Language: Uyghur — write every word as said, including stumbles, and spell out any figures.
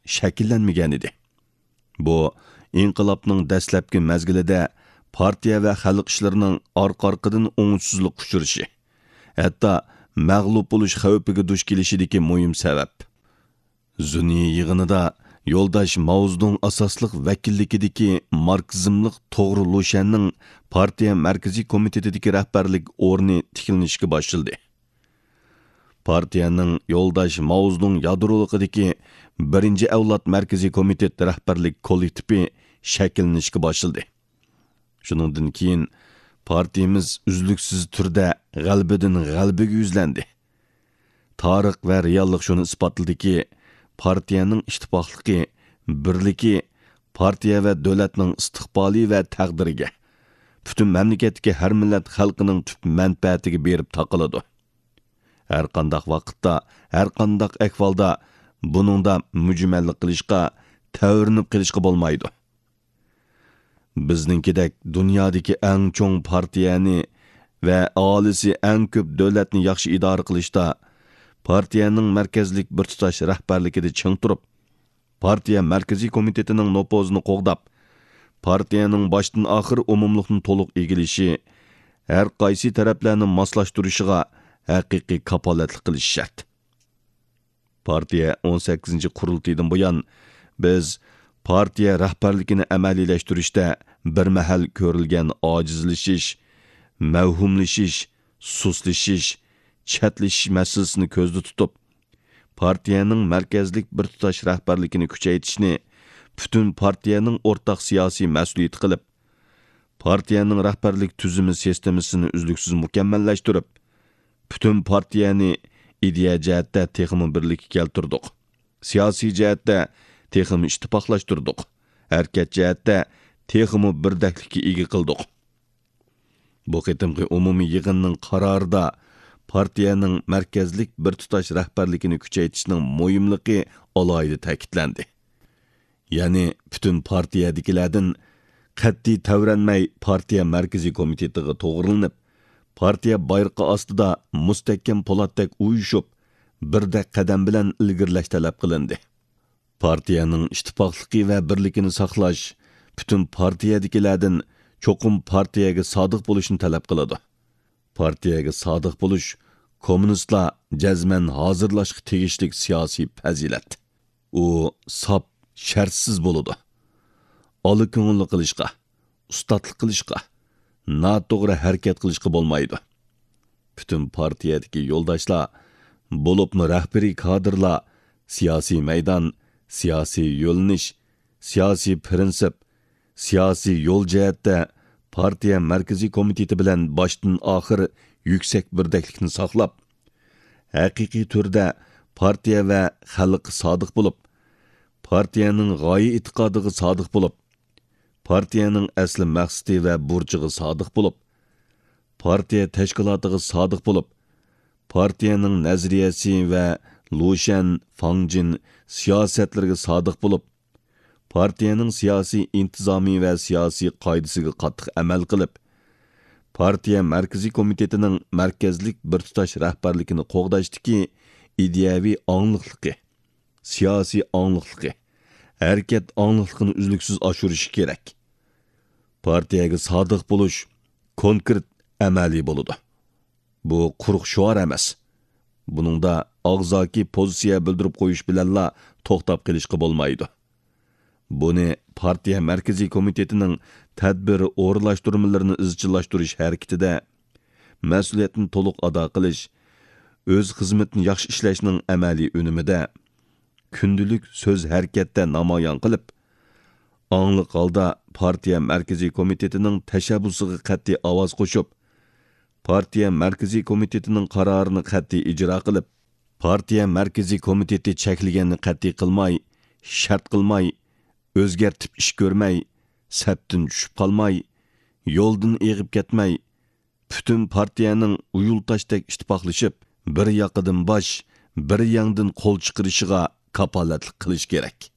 شەكىللەنمىگەنىدى. بۇ ئىنقىلابنىڭ دەسلەپكى مەزگىلىدە پارتىيە ۋە خەلق ئىشلىرىنىڭ ئارقا-ئارقىدىن ئوڭۇشسىزلىققا ئۇچرىشى، ھەتتا مەغلۇپ بولۇش خەۋپىگە دۇچ كېلىشىدىكى مۇھىم سەۋەب. زۇنى يىغىنىدا يولداش ماۋزېدۇڭ ئاساسلىق ۋەكىللىكىدىكى ماركسىزملىق توغرا لۇشەننىڭ پارتىيە مەركىزىي كومىتېتىدىكى رەھبەرلىك ئورنى تىكلىنىشكە باشلىدى. پارتىيەنىڭ يولداش ماۋزېدۇڭ يادرولۇقىدىكى بىرىنچى ئەۋلاد مەركىزىي كومىتېت رەھبەرلىك كوللېكتىپى شەكىللىنىشكە باشلىدى. شۇنىڭدىن كېيىن پارتىيىمىز ئۈزلۈكسىز تۈردە غەلىبىدىن غەلىبىگە يۈزلەندى. تارىخ ۋە رېئاللىق شۇنى ئىسپاتلىدىكى، پارتىيەنىڭ ئىتتىپاقلىقى، بىرلىكى پارتىيە ۋە دۆلەتنىڭ ئىستىقبالى ۋە تەقدىرىگە، پۈتۈن مەملىكەتتىكى ھەر مىللەت خەلقىنىڭ تۈپ مەنپەئەتىگە بېرىپ تاقىلىدۇ. ھەرقانداق ۋاقىتتا، ھەرقانداق ئەھۋالدا بۇنىڭدا مۈجمەللىك قىلىشقا، تەۋرىنىپ قېلىشقا بولمايدۇ. بىزنىڭكىدەك دۇنيادىكى ئەڭ چوڭ پارتىيەنى ۋە ئاھالىسى ئەڭ كۆپ دۆلەتنى ياخشى ئىدارە قىلىشتا، پارتىيەنىڭ مەركەزلىك بىر تۇتاش رەھبەرلىكىدە چىڭ تۇرۇپ، پارتىيە مەركىزىي كومىتېتىنىڭ نوپۇزىنى قوغداپ، پارتىيەنىڭ باشتىن ئاخىر ئومۇملۇقنى تولۇق ئىگىلىشى، ھەر قايسى تەرەپلەرنى ماسلاشتۇرۇشىغا ھەقىقىي كاپالەتلىك قىلىشى شەرت. پارتىيە ئون سەككىزىنچى قۇرۇلتىيىدىن بۇيان، بىز پارتىيە رەھبەرلىكىنى ئەمەلىيلەشتۈرۈشتە بىر مەھەل كۆرۈلگەن ئاجىزلىشىش، مەۋھۇملىشىش، سۇسلىشىش، چەتلىشىش مەسىلىسىنى كۆزدە تۇتۇپ، پارتىيەنىڭ مەركەزلىك بىر تۇتاش رەھبەرلىكىنى كۈچەيتىشنى پۈتۈن پارتىيەنىڭ ئورتاق سىياسىي مەسئۇلىيىتى قىلىپ، پارتىيەنىڭ رەھبەرلىك تۈزۈمى سىستېمىسىنى ئۈزلۈكسىز مۇكەممەللەشتۈرۈپ، پۈتۈن پارتىيەنى ئىدىيە جەھەتتە تېخىمۇ بىرلىككە كەلتۈردۇق. سىياسىي جەھەتتە تېخىمۇ ئىتتىپاقلاشتۇردۇق. ھەرىكەت جەھەتتە تېخىمۇ بىردەكلىككە ئىگە قىلدۇق. بۇ قېتىمقى ئومۇمىي يىغىننىڭ قارارىدا پارتىيەنىڭ مەركەزلىك بىر تۇتاش رەھبەرلىكىنى كۈچەيتىشنىڭ مۇھىملىقى ئالاھىدە تەكىتلەندى. يەنى پۈتۈن پارتىيەدىكىلەردىن قەتئىي تەۋرەنمەي پارتىيە مەركىزىي كومىتېتىغا توغرىلىنىپ، پارتىيە بايرىقى ئاستىدا مۇستەھكەم پولاتتەك ئۇيۇشۇپ، بىردەك قەدەم بىلەن ئىلگىرىلەش تەلەپ قىلىندى. پارتىيەنىڭ ئىتتىپاقلىقى ۋە بىرلىكىنى ساقلاش پۈتۈن پارتىيەدىكىلەردىن چوقۇم پارتىيەگە سادىق بولۇشنى تەلەپ قىلىدۇ. پارتىيەگە سادىق بولۇش كوممۇنىستلار جەزمەن ھازىرلاشقا تېگىشلىك سىياسىي پەزىلەت. ئۇ ساپ، شەرتسىز بولىدۇ. ئالا كۆڭۈللۈك قىلىشقا، ئۇستاتلىق قىلىشقا، ناتوغرا ھەرىكەت قىلىشقا بولمايدۇ. پۈتۈن پارتىيەدىكى يولداشلار، بولۇپمۇ رەھبىرىي كادىرلار سىياسىي مەيدان، سىياسىي يۆنىلىش، سىياسىي پىرىنسىپ، سىياسىي يول جەھەتتە پارتىيە مەركىزىي كومىتېتى بىلەن باشتىن ئاخىر يۈكسەك بىردەكلىكنى ساقلاپ، ھەقىقىي تۈردە پارتىيە ۋە خەلققە سادىق بولۇپ، پارتىيەنىڭ غايە ئېتىقادىغا سادىق بولۇپ، پارتىيەنىڭ ئەسلى مەقسىتى ۋە بۇرچىغا سادىق بولۇپ، پارتىيە تەشكىلاتىغا سادىق بولۇپ، پارتىيەنىڭ نەزەرىيەسى ۋە لۇشەن، فاڭجىن سىياسەتلىرىگە سادىق بولۇپ، پارتىيەنىڭ سىياسىي ئىنتىزامى ۋە سىياسىي قائىدىسىگە قاتتىق ئەمەل قىلىپ، پارتىيە مەركىزىي كومىتېتىنىڭ مەركەزلىك بىر تۇتاش رەھبەرلىكىنى قوغداشتىكى ئىدىيەۋى ئاڭلىقلىقى، سىياسىي ئاڭلىقلىقى، ھەرىكەت ئاڭلىقلىقىنى ئۈزلۈكسىز ئاشۇرۇشى كېرەك. پارتىيەگە سادىق بولۇش كونكرېت، ئەمەلىي بولىدۇ. بۇ قۇرۇق شوئار ئەمەس. بۇنىڭدا ئاغزاكى پوزىتسىيە بىلدۈرۈپ قويۇش بىلەنلا توختاپ قېلىشقا بولمايدۇ. بۇنى پارتىيە مەركىزىي كومىتېتىنىڭ تەدبىر ئورۇنلاشتۇرمىلىرىنى ئىزچىللاشتۇرۇش ھەرىكىتىدە، مەسئۇلىيەتنى تولۇق ئادا قىلىش، ئۆز خىزمىتىنى ياخشى ئىشلەشنىڭ ئەمەلىي ئۈنۈمىدە، كۈندىلىك سۆز ھەرىكەتتە نامايان قىلىپ، ئاڭلىق ھالدا پارتىيە مەركىزىي كومىتېتىنىڭ تەشەببۇسىغا قەتئىي ئاۋاز قوشۇپ، پارتىيە مەركىزىي كومىتېتىنىڭ قارارىنى قەتئىي ئىجرا قىلىپ، پارتىيە مەركىزىي كومىتېتى چەكلىگەننى قەتئىي قىلماي، شەرت قىلماي، ئۆزگەرتىپ ئىش كۆرمەي، سەپتىن چۈشۈپ قالماي، يولدىن ئېغىپ كەتمەي، پۈتۈن پارتىيەنىڭ ئۇيۇلتاشتەك ئىتتىپاقلىشىپ، بىر ياقىدىن باش، بىر يەڭدىن قول چىقىرىشىغا كاپالەتلىك قىلىش كېرەك.